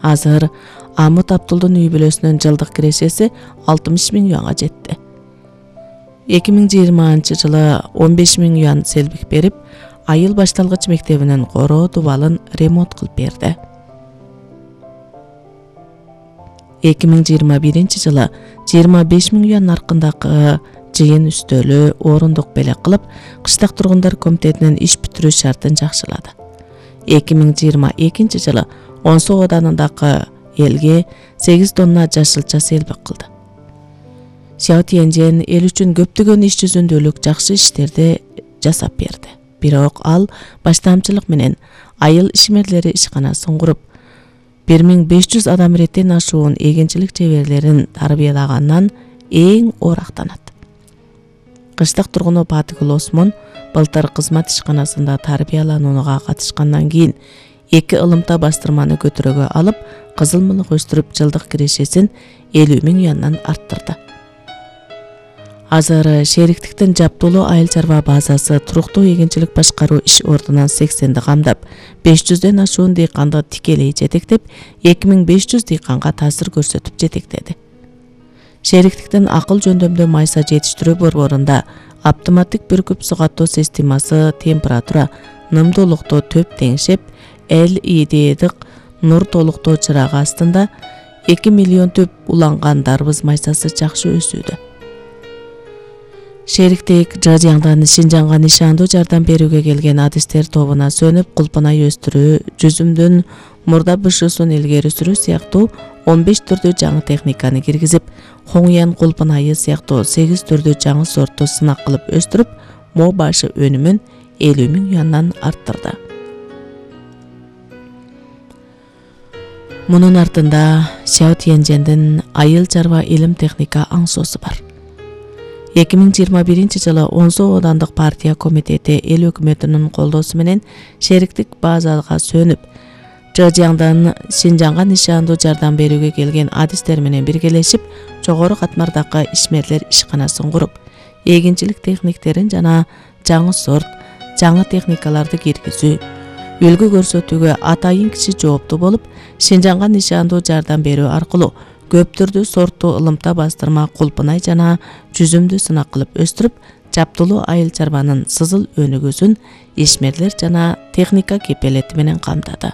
Азыр Амут Абдулдун үй бүлөсүнүн жылдык кирешеси 60 000 юанга жетти. 2020 жылы 15 000 юан селбик берип, айыл башталгыч мектебинин короо дубалын ремонт кылып берди. 2021 жылы 25 000 юан наркындагы жыйын үстөлү орундук белек кылып, кыштак тургундар комитетинин иш бүтүрүү шартын жакшылады. 2022 жылы Онсу оданындагы элге 8 тонна жашылча селбик кылды. Сяо Тяньжэн эл үчүн көптөгөн иш жүзүндөлүк жакшы иштерди жасап берди. Бирок ал баштамчылык менен айыл ишмерлери ишканасын куруп, 1500 адам иреттен ашуун эгенчилик чеберлерин тарбиялагандан эң оорактанат. Кыштак тургуну Батыгул Осмон былтыр кызмат ишканасында тарбияланууга катышкандан кийин 2 ылымта бастырманы көтөрөгө алып, кызыл мылык өстүрүп, жылдык кирешесин 50 000 юандан арттырды. Азыр шериктиктин Жаптуулу айыл чарба базасы туруктуу эгенчилик башкаруу иш ордунан 80ди камдап, 500ден ашуун дыйканды тикелей жетектеп, 2500 дыйканга таасир көрсөтүп жетектеди. Шериктиктин акыл жөндөмдүү майса жетиштирүү борборунда автоматтык бүркүп сугаттоо системасы температура, нымдуулукту төп теңшеп, LED нур толуктоо чырагы астында 2 миллион төп уланган дарбыз майсасы жакшы өсүүдө. Шериктик Жажаңдан Шинжаңга нишандуу жардам берүүгө келген адистер тобуна сөнүп, кулпунай өстүрүү, жүзүмдүн мурда бышуусун илгери сүрүү сыяктуу 15 түрдүү жаңы техниканы киргизип, Хоңуян кулпунайы сыяктуу 8 түрдүү жаңы сортту сынак кылып өстүрүп, мо башы өнүмүн 50 000 юандан арттырды. Мунун артында Сяо Тяньжэндин айыл чарба илим техника аңсоосу бар. 2021 жылы Онсу оодандык партия комитети эл өкмөтүнүн колдоосу менен шериктик базага сөнүп, Жажаңдан Шинжаңга нишандуу жардам берүүгө келген адистер менен биргелешип, жогору катмардагы ишмерлер ишканасын куруп, эгенчилик техниктерин жана жаңы сорт, жаңы техникаларды киргизүү, үлгү көрсөтүүгө атайын киши жооптуу болуп, Шинжаңга нишандуу жардам берүү аркылуу көп түрдүү сорттуу ылымта бастырма, кулпунай жана жүзүмдү сынак кылып өстүрүп, Жаптуулу айыл чарбанын сызыл өнүгүүсүн ишмерлер жана техника кепелети менен камдады.